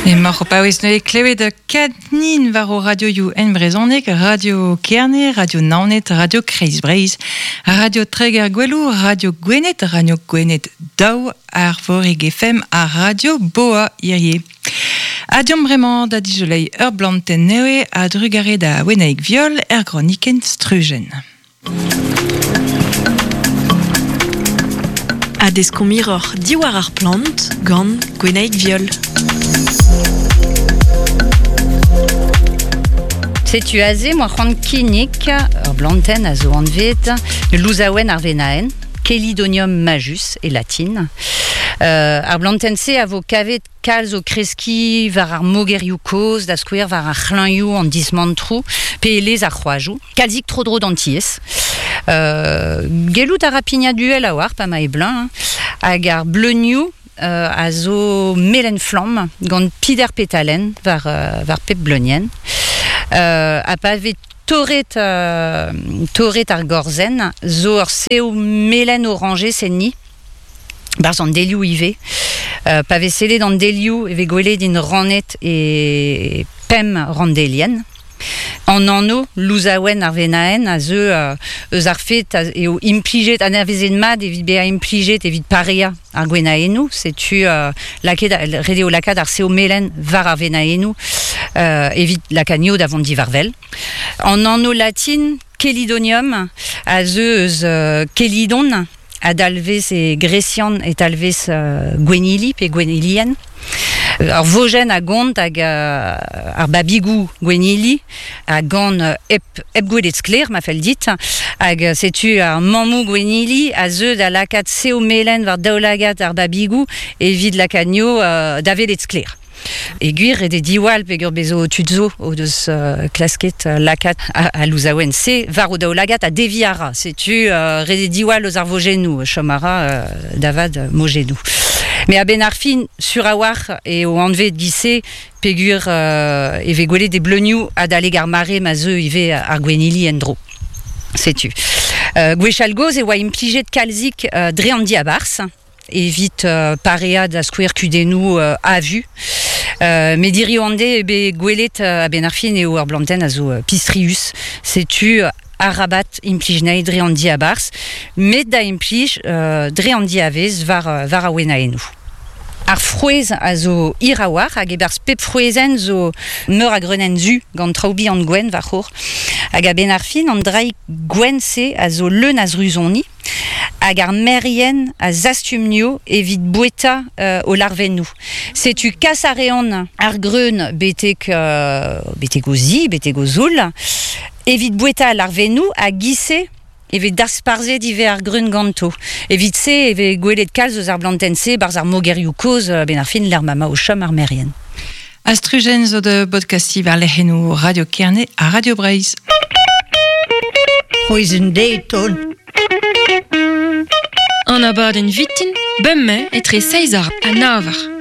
Emaoc'h o paouez neuze klevet Katnin war ho radioioù en brezhoneg, Radio Kerne, Radio Naoned, Radio Kreiz Breizh, Radio Treger Goueloù, Radio Gwened, Radio Gwened daou, Arvorig FM ha Radio Boa hirie. Ha deomp bremañ da dizoleiñ ur blantenn nevez a-drugarez da Wenaig Viol er gronikenn Strujenn. Ha deskomp hiroc'h diwar ar plant gant Gwenaig Viol. Setu aze moa c'hoant kinnig ur blantenn a zo anvet louzaouenn ar venaenn, Chelidonium majus e latin. Ar blantenn-se a vo kavet Kalz o kreskiñ war ar mogerioù kozh, da skouer war ar c'hlañioù, an dismantroù, pe e lez ar c'hoajoù. Kalzik tro-dro d'an tiez. Gellout a ra pignat uhel a-walc'h pa ma eo bleuñv, hag ar bleunioù a zo melen-flamm gant pider petalenn war, war pep bleunienn. Ha pa vez torret, torret ar gorzenn zo ur sev melen-orañjez enni. Barzh an delioù ivez. Pa vez sellet an delioù e vez gwelet int rannet e pemp ranndelienn. An anv louzaouenn ar venaenn a zeu eus ar fed eo implijet anavezet mat evit bezañ implijet evit pareañ ar gwenaennoù. Setu lakaet ret eo lakaat ar sev melen war ar venaennoù evit lakaat anezho da vont diwar-wel. An anv latin Chelidonium a zeu eus Chelidon a dalvez e gresian e talvez gwennili pe gwennilienn. Ur vojenn a gont hag ar babigoù gwennili a gan hep, hep gwelet sklaer ma fell dit. Hag setu ar mammoù gwennili a zeu da lakaat sev melen war daoulagad ar babigoù evit lakaat anezho da welet sklaer. E gwir ret eo diwall peogwir bezo tud zo o deus klasket lakaat al louzaouenn-se war o daoulagad ha deviñ a ra. Setu ret eo diwall eus ar vojennoù, chom a ra da vat mojennoù. Met a-benn ar fin, sur a-walc'h eo anvet giz-se peogwir e vez gwelet e bleunioù adalek ar mare ma zeu ivez ar gwennili en-dro. Setu. Gwechall-gozh e oa implijet kalzik dre an diabarzh. evit pareañ da skouer kudennoù avu. Met hiziv an deiz eo bet gwelet a-benn ar fin eo ur blantenn a zo pistrius. Setu arabat implij anezhi dre an diabarzh, met da implij dre an diavez war, war ar wenaennoù. Ar frouezh a zo hir a-walc'h hag e-barzh pep frouezhenn zo meur a greunenn zu gant traoù bihan gwenn war-c'horre. Hag a-benn ar fin, an draig gwenn-se a zo leun a zruzoni. Hag ar merien a zastum-nio evit boueta o larvennoù. Setu kas a reont ar greun betek, betek o zi, betek o zoull, evit boueta al larvennoù ha giz-se e vez dasparzhet ivez ar greun ganto. Evit-se e vez gwelet kalz eus ar blantenn-se 'barzh ar mogerioù kozh a-benn ar fin lec'h ma 'ma o chom ar merien. Astrujenn zo da bodkastiñ war lec'hennoù Radio Kerne ha Radio Breizh. C'hwezh deton. An abadenn vitin, bemdez etre seizh eur ha nav eur.